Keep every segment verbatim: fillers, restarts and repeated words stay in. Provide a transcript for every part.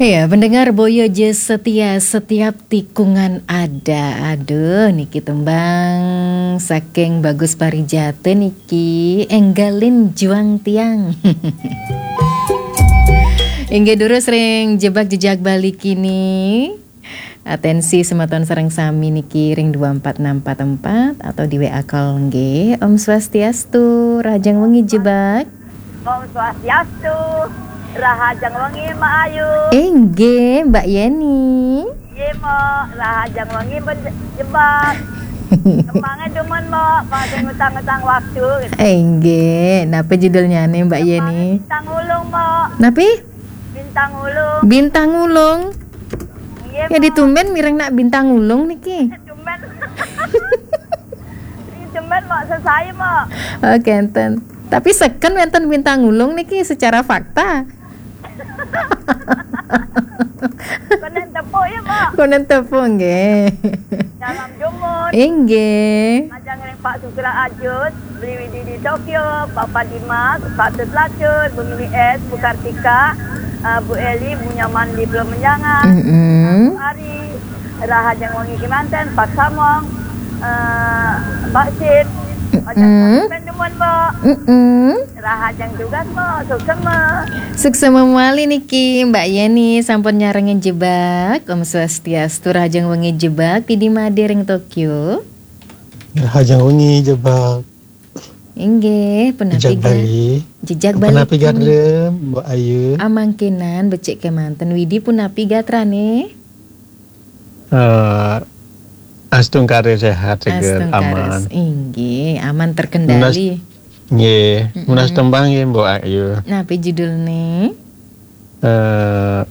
Iya, pendengar Boyo je setia, setiap tikungan ada. Aduh, niki tembang saking Bagus Parijata niki, enggalin juang tiang. Inggih durus ring jebak jejak Bali kini. Atensi semeton sareng sami niki ring dua empat enam empat empat atau di W A call nggih. Om Swastiastu, rahajeng wengi jebak. Om Swastiastu, rahajeng wengi Mbak Ayu. Inggih, Mbak Yeni. Nggih, Mbok, rahajeng wengi ben-, jebak. Kembange demen, Mbok, kok sing ngutang-ngutang waktu gitu. Inggih, napa judulnyane Mbak Kembange Yeni? Bintang Ulung, Mbok. Napi? Bintang Ulung. Bintang Ulung. Nggih, ya, Mbok. Ditumben mireng nak Bintang Ulung niki. Tumben. Tumben, Mbok, sesai, Mbok. Oke, enten. Tapi seken wenten Bintang Ulung niki secara fakta. Konen tepuk ya, Mbok. Konen tepuk, nggih. Salam jumut. Inggih. Ajeng ring Pak Sukra Ajus, Beli Widi di Tokyo, Bapak Dimas, Pak Tut Lacur, Bu Mili S, Bu Kartika, eh, Bu Eli, Bu Nyaman di Pulau Menjangan, mm-mm, Bu Ari, rahajeng wengi kemanten, Pak Samong, eh, Mbak Sid, ajeng, mm-mm, sampeyan demen, Mbok. Mm-mm. Rahajeng tugas, Mbok, suksema. Suksema mawali niki, Mbak Yeni sampun nyarengin jebak. Om Swastiastu, rahajeng wengi jebak, Widi Made ring Tokyo. Rahajeng wengi jebak. Inggih, punapi jejak ga-, Bali. Jejak Bali punapi kini. Gatra, Mbok Ayu? Amangkinan becik kemanten, Widi punapi gatrane? Eh, astungkare sehat, seger, astungkare aman. Inggih, aman terkendali. Nunas, nggih, mm-mm, nunas tembang nggih, Mbok Ayu. Napi judulne? Eh,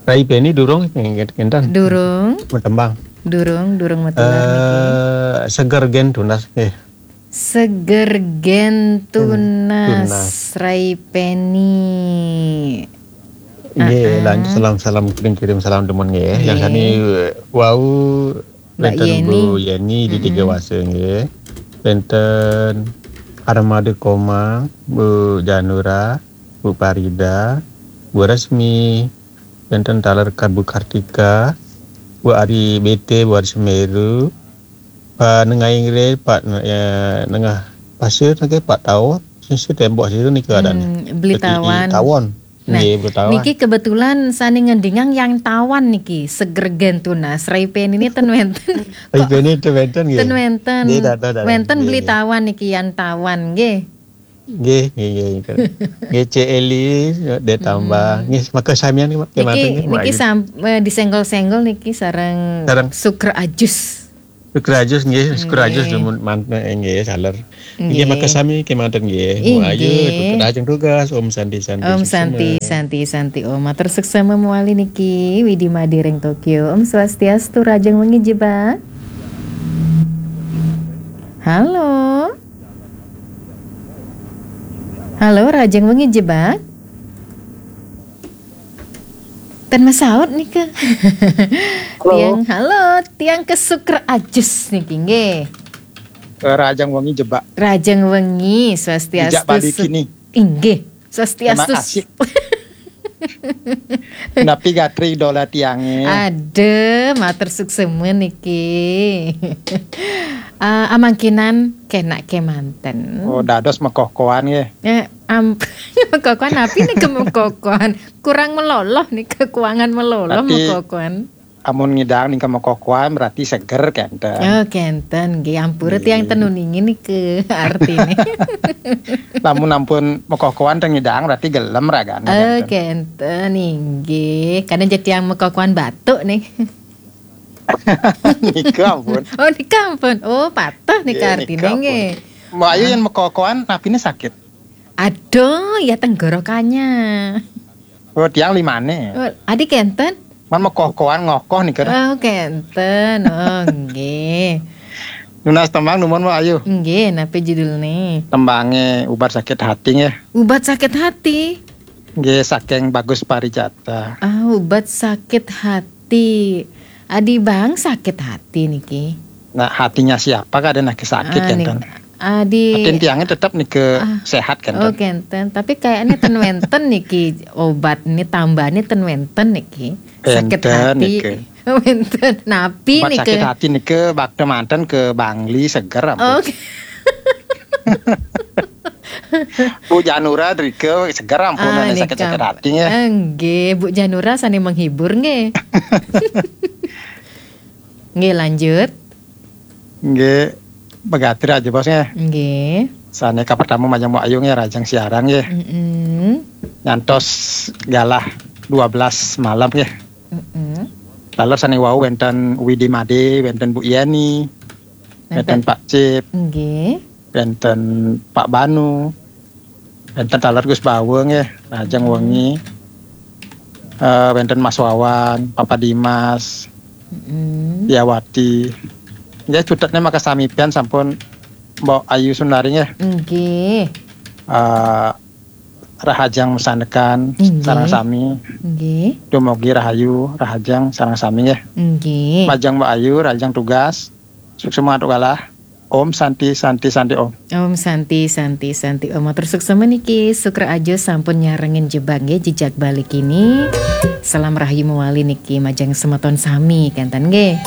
Rai Beni durung nggih, kinten? Durung. Metembang. Durung, durung metular niki. Eh, seger gen tunas nggih. Seger gen tunas, tunas. Rai Peni. Nggih, heeh, lanjut salam-salam, kirim-kirim salam demen nggih. Yang, nggih, sami, eh, wau Mbak wenten Yeni. Bu Yeni di, mm-mm, Tiga Wase nggih. Wenten Armada Komang, Bu Janura, Bu Parida, Bu Resmi, wenten taler Ka-, Bu Kartika, Bu Ari B T, Bu Ari Semeru, Pak Nengai Ngre, Pak Ne-, ya, Nengah Pasir nggih, Pak Tawon, sing tembok situ nika adan. Hmm, Beli Tawon. Tawon. Nah, nggih, Beli Tawon. Niki kebetulan sane ngendingang yang Tawon niki, seger gen tunas, Rai Peni ini ten wenten. Rai Peni ten wenten nggih. Ten wenten. Nggih, dah, dah, dah. Wenten, nggih, Beli Tawon niki yang Tawon nggih. Nggih, nggih, nggih, nggih. Nggih, Cek Eli, dia tambah. Hmm. Nggih, maka samian niki, niki, nggih, niki Mbok Ayu. Sam-, eh, disenggol-senggol niki sareng, sareng Sukra Ajus. Sukra Ajus, nggih, Sukra Ajus, nggih, demen manten, eh, nggih, saler. Nggih, nggih, maka sami kemanten nggih. Mbok Ayu, inggih, tutur ajeng tugas. Om Santi, Santi, Om suksema. Santi, Santi, Santi. Om, matur suksema mawali niki, Widi Made ring Tokyo. Om Swastiastu, rahajeng wengi jebak. Halo. Halo, rahajeng wengi jebak. Ten masaut nika. Halo. Tiang, halo, tiang ke Sukra Ajus niki nggih. Eh, rahajeng wengi jebak. Rahajeng wengi, swastiastu. Jejak Bali su-, kini. Inggih, swastiastu. Terima kasih. Napi gatra idola tiange? Aduh, matur suksema niki. Ah, amangkinan kenak kemanten. Oh, dados mekokoan nggih. Eh, am-, mekokoan napi nika mekokoan? Kurang meloloh nika, kekurangan meloloh. Berarti mekokoan. Amun ngidang nika mekokoan berarti seger kenten. Oh, kenten nggih, ampura. Nggih. Tiang ten uningi nika artine. Lamun ampun mekokoan ten ngidang berarti gelem ragane. Oh, kenten. Kenten inggih. Kadang jadi yang mekokoan batuk nih. Nika ampun. Oh, nika ampun. Oh, patuh nika. Nggih, artine nika ampun. Nggih. Mbok Ayu, ah, yang mekokoan napine sakit? Aduh, ya tenggorokannya. Oh, tiang limane. Oh, adi kenten? Man mekokoan ngokoh nika. Oh, kenten. Oh, nggih. Nunas tembang numun, Mbok Ayu. Nggih, napi judulne? Tembange Ubat Sakit Hati nggih. Ubat Sakit Hati? Nggih, saking Bagus Parijata. Ah, Ubat Sakit Hati. Adi bang sakit hati niki. Nah, hatinya siapa kadang nake sakit, ah, kenten. Nik-, Ah, di Atin tiangnya tetap nika Ah. sehat kan. Oh, kenten. Tapi kayaknya ten wenten niki obat ini tambahnya ten wenten niki. Sakit Wenten hati. Niki. Wenten. Napi Obat nih sakit ke. Hati nika bakda manten ke Bangli seger ampun. Oke. Bu Janura drike seger ampun Ah, ada nika. sakit-sakit hati ya. Enggih, Bu Janura sani menghibur nggih. Nggih, lanjut. Nggih, begatir aja bos nggih. Nggih. Sane ka pertama majeng Mbok Ayu nggih, rajang siaran nggih. Mm-mm. Nyantos galah dua belas malam nggih. Mm-mm. Lalu sane wau wenten Widi Made, wenten Bu Yeni, wenten Pak Cip, Nggih. wenten Pak Banu, wenten taler Gus Bawa nggih, rajang wengi. Eh, wenten Mas Wawan, Papa Dimas, Mm-mm. Diawati. Nggih, cutetne maka sami pian sampun Mbok Ayu Sundari nggih. Nggih. Eh, rahajeng mesanekan Nggih. sareng sami. Nggih. Dumugi rahayu, rahajeng sareng sami nggih. Nggih. Majeng Mbok Ayu, rahajeng tugas. Suksma mantuk galah. Om Santi, Santi, Santi Om. Om Santi, Santi, Santi Om. Matur suksma niki Sukra Ajo sampun nyarengin jebak nggih, jejak balik ini. Salam rahayu mawali niki majeng semeton sami kenten nggih.